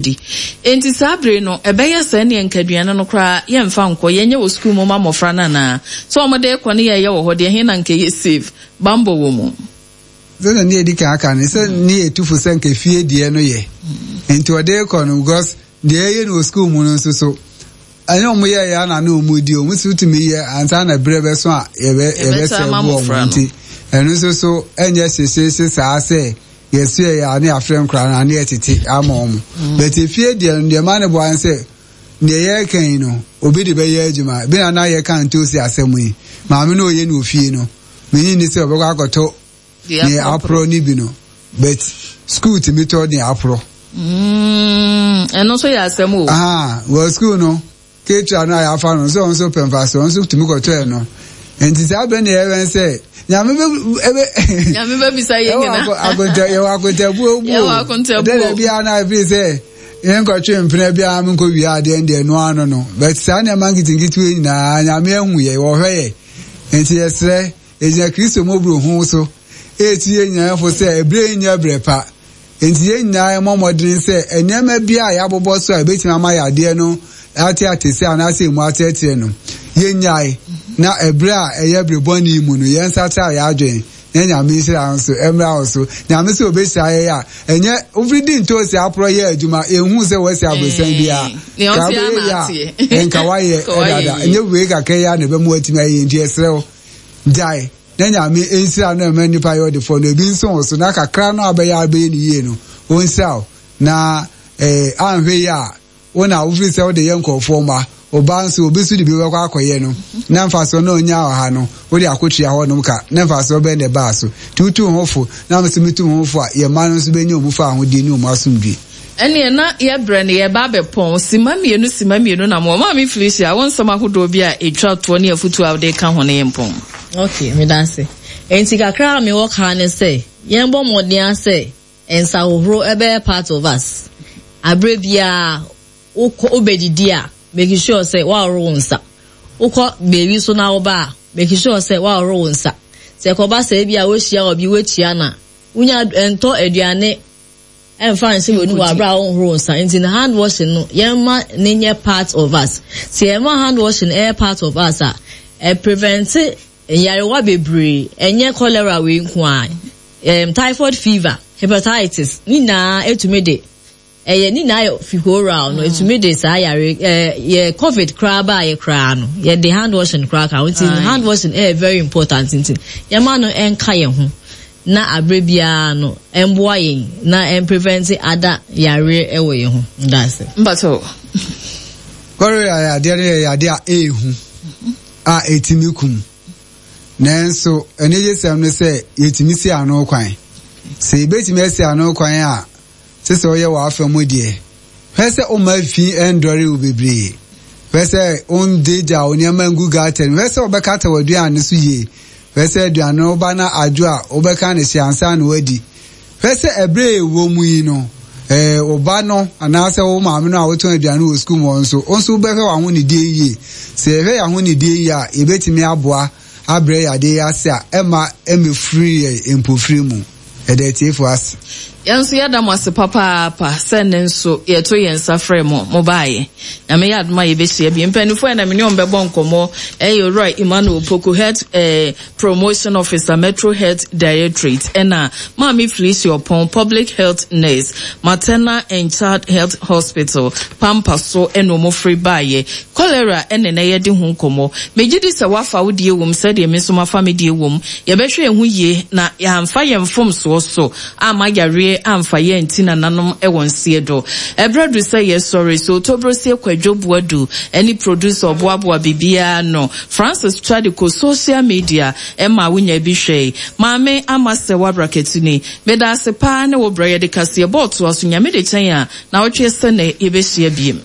Di. Enti saa bere no, ɛbɛyɛ sɛ ɛnneɛ nka aduane no koraa yɛmfa nkɔ, yɛnyɛ wɔ sukuu mu ma mmɔfra no anaa? Sɛ wɔde rekɔ ne yɛreyɛ wɔ hɔ deɛ, ɛhe na nka ɛyɛ safe? Bammɔ wɔ mu. Sɛdeɛ ne yɛdi kan aka no, sɛ ne yɛtu fo sɛ nka fie deɛ no yɛ. Nti ɔde rekɔ no, because deɛ yɛyɛ no wɔ sukuu mu no nso so, ɛnyɛ wɔn yɛɛyɛ ana ne wɔn di, wɔn nso tumi yɛ ansa na berɛ bɛso a yɛbɛ yɛbɛsɛ bu wɔn. Nti ɛno nso so ɛnyɛ hyehyeehye saa sɛ Yɛsoɛ yɛ a ne yɛafrɛ nkwadaa no a ne yɛtete ama wɔn. But efie deɛ no deɛ ɛma no boa ne sɛ deɛ yɛreka yi no obi de bɛyɛ adwuma. Bi na na yɛka ntoosi asɛm yi, maame no ɔyɛ no wɔ fie no, menye nni sɛ ɔbɛkɔ akɔtɔ deɛ aporɔ no bi no but school tumi tɔ deɛ aporɔ. Ɛno nso yɛ asɛm o. Aha, wɔ school no Ketua no a yɛafa no sɛ ɔno nso pɛ mfaso, ɔno nso tumi kɔtɔɛ no. Nti saa bere na yɛwɛn sɛ Nyame bɛ ebe. Nyame bɛ bisa yɛn nyina. Akonta yɛwɔ akontabuo bu. Yɛwɔ akontabuo. Dɛdɛ biara na efi sɛ yɛn kɔtwe mpena biara mi nkɔ wia adeɛ deɛ no ano no. But saa nneɛma nketenkete yi nyinaa Nyame ahu yɛ wɔhwɛ yɛ. Nti yɛsrɛ yɛgyina Kristo mmɔborohu so etu yɛn nyinaa fo sɛ ebere yi nyɛ brɛ pa. Enti yɛn nyinaa yɛmmɔ mmɔden sɛ nneɛma biara a yɛabobɔ so a ebetumi ama yadeɛ no ate atese anaasɛ emu atrɛtrɛ no, yennyae, na ɛberɛ a ɛyɛ bere bɔne yi mu no, yɛnsakyera yɛn adwene, na Nyame nhyira nso mmra wo so. Nyame sɛ obehyira yɛn a, ɛnyɛ wofiri di ntoosi aporɔ yɛ adwuma, yɛnhuu sɛ woasi aborosan biara. Ka wobɛyɛ yie a, nka woayɛ dada. Ɛnyɛ wei kakra yi ara na ɛbɛma woatumi ayɛ yie, nti yɛsrɛ wo, gyae. Na Nyame nhyira no mma nnipa yɛ ɔdefoɔ no ebi nso wo so na kakra no a wobɛyɛ a wobɛyɛ no yie no ɔnhyira wo na eh, anhwɛ yie a wo na wofiri sɛ wode yɛ nkurɔfoɔ mma wo ba nso obi nso de bi bɛkɔ akɔyɛ no na mfasoɔ na ɔnya wɔ ha no wode akɔtua hɔ nom ka na mfasoɔ bɛn na ɛbaa so nti wotu wo ho fo na me nso metu me ho fo a yɛn mma no nso bɛnya wɔn fa ahodie ne wɔn asomdwie. Ɛneɛ na yɛbrɛ no yɛreba abɛpɔn. Simma mmienu simma mmienu na mowɔ. Maame Felicia, wo nsɛm ahodoɔ bi a ɛtwa toɔ ne afutuo a wode reka ho no yɛmpɔn. Ok, medase. Enti kakra a mewɔ ka ne sɛ, yɛnbɔ mmɔden ara sɛ nsahohoro ɛbɛyɛ part of us. Aberɛ biara wokɔ wobɛdidi a, make sure sɛ woahoro wo nsa. Wokɔ baabi so na woba a, make sure sɛ woahoro wo nsa. Sɛ ɛkɔba sɛ ebia woahyia obi woakyia no a, wonya ntɔ aduane ɛmfa nhyɛ w'anum wɔ abere a wonhoro wo nsa nti no hand washing no yɛmma ne nyɛ part of us sɛ yɛma hand washing ɛyɛ part of us a ɛ prevent nyarewa bebree ɛnyɛ cholera wei nko a um, typhoid fever hepatitis ne nyinaa ɛtumi de ɛyɛ ne nyinaa yɛ fi oral no ɛtumi de saa yare ɛɛ yɛ covid koraa baa yɛ koraa no yɛde hand washing koraa ka ho nti hand washing ɛyɛ very important nti yɛma no ɛnka yɛn ho na aberɛ biara no ɛmboa yɛn na ɛmprevɛnte ada yareɛ ɛwɔ yɛn ho. Ndaase. Mpakyɛw. Cholera yadeɛ no yɛ yadeɛ a ɛyɛ hu a ɛtumi kum. Nanso anigyesɛm ne sɛ yɛtumi si ano kwan. Sɛ yɛbɛtumi asi ano kwan a, Te sɛ woyɛ w'afa mu deɛ. Hwɛ sɛ womma fi ndɔre wo bebree. Hwɛ sɛ wongyaagyaa wo nneɛma ngu gutter mu. Hwɛ sɛ wobɛkata w'aduane so yie. Hwɛ sɛ aduane no woba na adwo a, wobɛka no hye ansa na woadi. Hwɛ sɛ ɛberɛ a yɛwɔ mu yi no, eh, wo ba no anaasɛ wo maame no a wotɔn aduane wɔ sukuu mu hɔ nso, wo nso wobɛhwɛ w'ahonidie yie. Sɛ yɛhwɛ yɛn ahonidie yie a, yɛbɛtumi aboa abrɛ yadeɛ yi ase a ɛmma ɛmmɛfiri yɛn mpofiri mu. Yɛda atiefo ase. Yɛn nso yɛda mo ase papaapa sɛ nnɛ nso yɛto yɛn nsa frɛɛ mo, mobaeɛ. Nyame yɛ adom a yɛbɛhyia bio. Mpaninfoɔ a na me ne wɔn bɛbɔ nkɔmmɔ yɛ Owura Emmanuel Opoku, Health eh, Promotion Officer, Metro Health Directorate, ɛna Maame Felicia Ɔpɔn, Public Health Nurse, Maternal and Child Health Hospital, Pampa so ɛna wɔn firi baeɛ. Cholera ɛna na yɛde ho nkɔmmɔ. Megye di sɛ woafa wo deɛ wom sɛdeɛ me nso mafa me deɛ wom. Yɛbɛhwɛ yɛn ho yie na yɛamfa yɛn mfomsoɔ so amma yareɛ amfa yɛn anti nananom wɔ nseɛ do. Ɛberɛ aduru sɛ yɛsɔre, so Tobrosie Kwadwo Boadu ne producer ɔboaboa biribiara ano, Francis Twadico social media maa wonya bi hwɛe. Maame Ama Sɛwa Brakatuni, meda ase paa ne wo brɛ yɛde kaseɛbɔ toa so Nyame de kyɛn a, naawɔtwe sɛ nnɛ yɛbɛhyia biem.